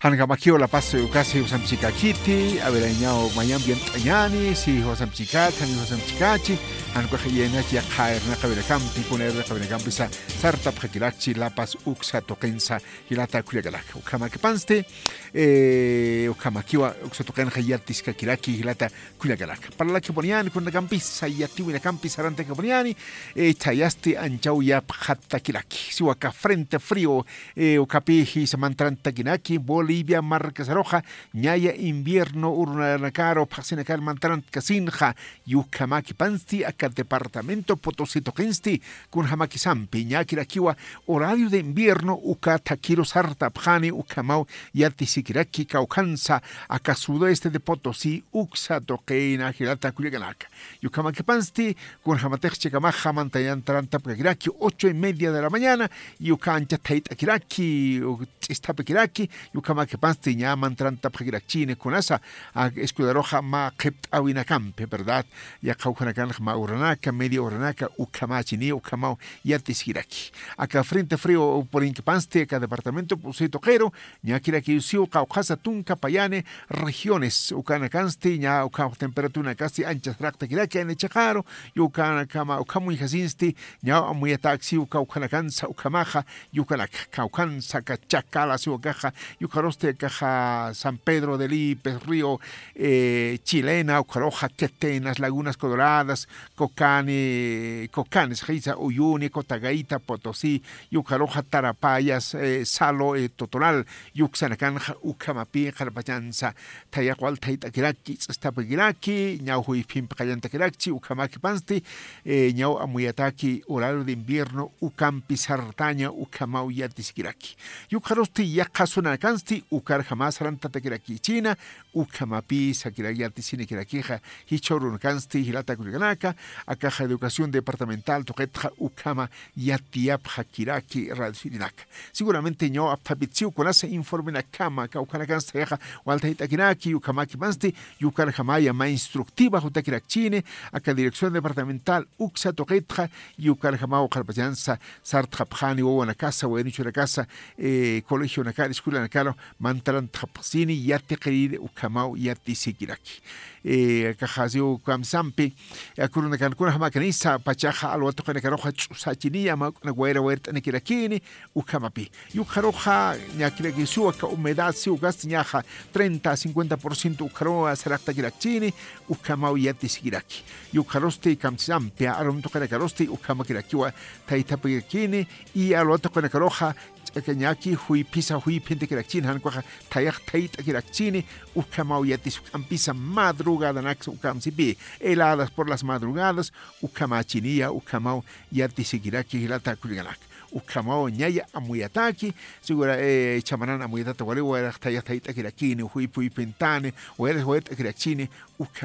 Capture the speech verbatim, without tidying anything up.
Jan ukamakiw La Paz ukasi jusamchikakiti, a ver, ñaw mayampi yant'añani, si jusamchikat, jan jusamchikachi, jan ukax iyaynach yaqha irnaqawinakampi, kuna irnaqawinakampi sa, sartapxakirakchi La Paz uksa tuqinsa, jilata kullakanaka. Ukhamakipansti, eh, ukhamakiwa uksa tuqinxa yatiskakiraki, jilata kullakanaka. Parlakipuniñani, kunakampisa, yatiwinakampi sarantakipuniñani, eh, chayasti anchaw yapxatakiraki. Siwa aka frente frío, eh, ukapi jisa mantarantakinaki, Bolivia markasaruxa, ñaya invierno urunakaru, phaxsinakar mantarantasinxa, ukhamakipansti aka departamento Potosí tuqinsti, kunjamakisampi, ñakirakiwa horario de invierno uka thakiru sartapxani ukhamaw yatisikiraki kawkhansa aka sudoeste de Potosí uksa tuqina jilata kullakanaka. Ukhamakipansti, kunjamatix chikamaxa mantarantarakiraki ocho y media de la mañana, uka ancha thayt'akiraki, u-, ch'isthapikiraki, ukhamakipansti ña mantarantapxakirakchini kunasa, a, escudaruxa mä qhipt'awinakampi, ¿verdad? Yaqha ukhanakanxa mä uranaka, media uranaka, ukhamachini, ukhamaw yatisikiraki. Aka frente frío purinkipansti, aka departamento Potosí tuqiru, ñakirakiw siw qawqhasa tunka payani regiones, ukanakansti, ña ukhamax temperaturanakasti ancha saraqtakiraki, ani chiqaru, ukanakama, ukhamuñjasinsti, ñaw amuyatäk siw kawkhanakansa, ukhamaxa, ukanaka, kawkhansa, aka Chacala siw akaxa, ukarusti akaxa San Pedro de Lipes, Río, eh, Chilena, ukaruxa Quetenas, Lagunas Coloradas, Cocani, Cocanes, jisa, Uyuni, Cotagaita, Potosí, ukaruxa Tarapayas, eh, Salo, eh, Totoral, uksanakanxa, ukhamapi, qharpachansa, thayaq wal thayt'akiraki, ch'isthapikiraki, ñaw juyphimpi qallantakirakchi, ukhamakipansti, eh, ñaw amuyataki, horario de invierno, ukampi sartaña, ukhamaw yatisikiraki. Ukarusti yaqha zonanakansti, ukarjama sarantatakirakichina, ukhamapi sakira-, yatisinikirakixa, jichhürunakansti, jilata kullakanaka, akaxa educación departamental tuqitxa, ukhama yatiyapxakiraki, radiosinaka. Seguramente ñaw apthapit siw kunasa informenakama, kawkhanakansti thayaxa, wal thayt'akiraki, ukhamakipansti, ukarjamaya mä instructiva jutakirakchini, aka dirección departamental uksa tuqitxa, ukarjamaw qharpachansa, sartxapxani wawanakasa, waynuchunakasa, eh, colegionakar, escuelanakaru, mantarantxapxsini, yatiqiriri, ukhamaw yatisikiraki. Eh, akaxa siw kamsampi, eh, aka urunakankuna jamakanisa, pachaxa alwa tuqinakaruxa ch'usachiniya, mä uk'unak wayra wayrt'anikirakini, ukhamapi. Ukaruxa, ñakirakiw siw aka humedad, siw ukasti ñaxa treinta a cincuenta por ciento ukaruwa saraqtakirakchini, ukhamaw yatisikiraki. Ukarusti kamsampi, arum tuqinakarusti, ukhamakirakiwa thaythapikirakini, y alwa tuqinakaruxa, ch'akañaki, juyphisa, juyphintakirakchini, jan ukaxa, thayaq thayt'akirakchini, ukhamaw yatis juk'ampisa, madrugadanaksa ukamsipi, heladas por las madrugadas, ukhamachiniya, ukhamaw yatisikiraki, jilata kullakanaka. Ukhamaw ñaya amuyataki, segura, eh, chamanan amuyatata wali, wayrax thayaq thayt'akirakini, juyph juyphintani, wayrax wayrt'akirakchini, ukha